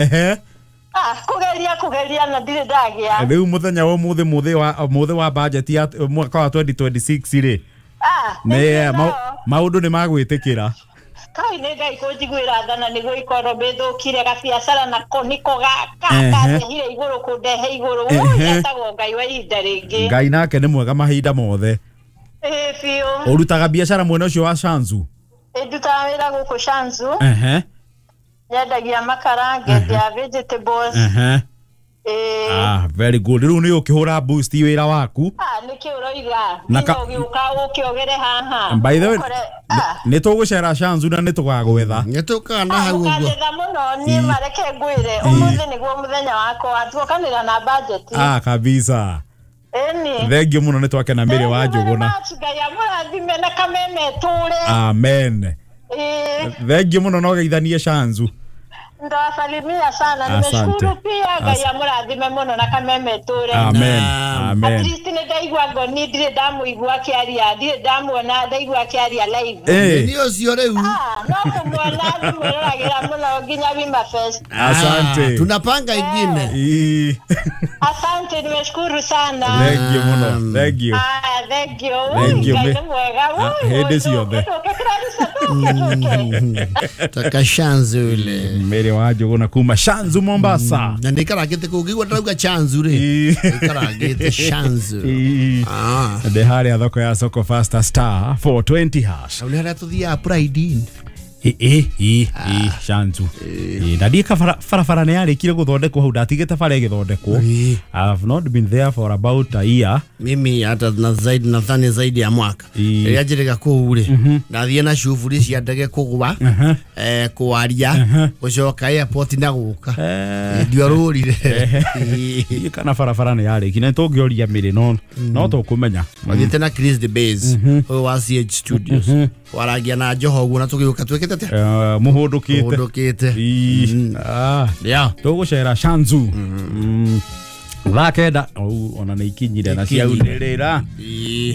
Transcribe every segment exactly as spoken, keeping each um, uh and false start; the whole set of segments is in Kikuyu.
Ehe. Ah, kugeria kugeria na ndirĩ ndagĩa. Rĩu mũthenya wa ũmũthĩ mũthĩ wa mũthĩ wa budget ya mwaka wa twenty twenty-six rĩ. Ah, nĩ maũndũ nĩ magwĩtĩkĩra. Kai nĩ Ngai kũnjiguĩra tha na nĩguo ikorwo mbĩthũkire gabiacara nako nĩko gakandehire igũrũ kũndehe igũrũ. Ũyũ etagwo Ngai wa ihinda rĩngĩ. Ngai nake nĩ mwega mahinda mothe. Ĩĩ biũ. Ũrutaga biacara mwena ũcio wa Shanzu? Ndutaga wĩra gũkũ Shanzu. Ehe. Nyendagia makara, ngendia vegetables. Ehe. Eh. Ah, very good. Rĩu nĩ ũkĩhũra boost wĩra waku. Ah, nĩkĩ ũroiga? Nginya ũgĩũka ũkĩogere haha. By the way, nĩ tũgũcera Shanzu na nĩ tũgagwetha. Nĩ tũkaga na hau ũguo. Mũkanetha mũno niĩ mareke ngwĩre. Ũmũthĩ nĩguo mũthenya wakwa tuokanĩra na budget. Ah, kabisa. Ĩni. Thank you mũno nĩ twakena Mary wa Njũgũna. Ngai amũrathime na kameme tũre. Amen. Eh. Thank you mũno no geithanie Shanzu. Ndawasalimia sana, nimeshukuru pia Ngai amũrathime mũno na kameme tũre. Amen. Amen. At least nĩ ndaigua ngoni ndirĩ ndamũigua akĩaria, ndirĩ ndamuona ndaigua akĩaria live. Nĩ ũcio rĩu. Ah, no kũmuona ndimwĩroragĩra mũno nginya Wima Fest. Asante. Tunapanga ingine. Asante, nimeshukuru sana. Thank you mũno. Thank you. Ah, thank you. Thank you. Ngai nĩ mwega. Hĩndĩ ciothe. Taka Shanzu ile. Mary wa Njũgũna kuma Shanzu Mombasa. Na nikaragite kũngĩigua ndĩrauga Shanzu rĩ. Nikaragite Shanzu. Ah. Ndĩ harĩa thoko ya Soko Faster star four twenty hash. Na nĩ harĩa tũthiaga Pride Inn. Ĩ ĩ ĩ ĩ Shanzu. Na ndika barabara nĩ yarĩkire gũthondekwo hau ndatigĩte bara ĩgĩthondekwo. I've not been there for about a year. Mimi hata na zaidi nadhani zaidi ya mwaka. Rĩrĩa njĩrĩga kũu rĩ, ndathiĩ na cuburi cia ndege kũgwa, eh kwaria, gũcoka airport na gũka. Ndiorũrire. Kana barabara nĩ yarĩkire nĩ tũngĩoria mĩrĩ no no tũkũmenya. Mathiĩte na Chris the Base ũyũ wa C H Studios. Waragia na Njoho ũguo na tũgĩũka twĩkĩte atĩa? Mũhũndũkĩte. Mũhũndũkĩte. Ah. Yeah. Tũgũcera Shanzu. Thaa kenda ona nĩ ikinyire na ciaunĩrĩra.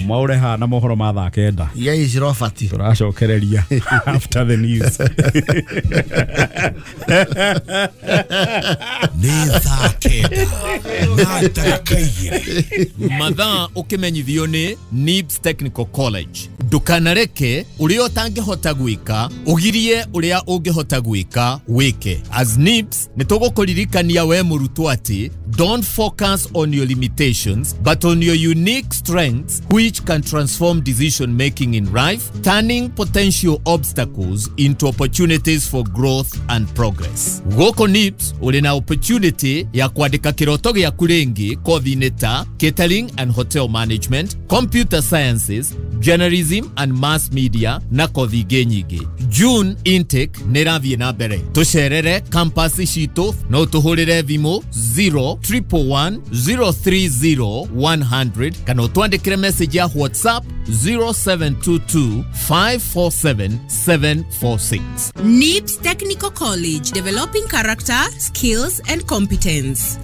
Mwaure haha na mohoro ma thaa kenda. Iria ici Robert. Tũracokereria after the news. Nĩ thaa kenda na ndagĩka igĩrĩ. Mathaa ũkĩmenyithio nĩ Nibs Technical College. Ndũkanareke ũrĩa ũtangĩhota gwĩka ũgirie ũrĩa ũngĩhota gwĩka wĩke. As Nibs nĩ tũgũkũririkania we mũrutwo atĩ don't focus on your limitations but on your unique strengths which can transform decision making in life, turning potential obstacles into opportunities for growth and progress. Gũkũ Nibs ũrĩ na opportunity ya kwandĩka kĩroto gĩaku rĩngĩ kothi-inĩ ta catering and hotel management, computer sciences, journalism and mass media na kothi ingĩ nyingĩ. June intake nĩ ĩrathiĩ na mbere. Tũcerere campus citũ no tũhũrĩre thimũ zero triple one zero three zero one hundred kana ũtwandĩkĩre message ya WhatsApp zero seven two two five four seven seven four six. Nibs Technical College, developing character, skills and competence.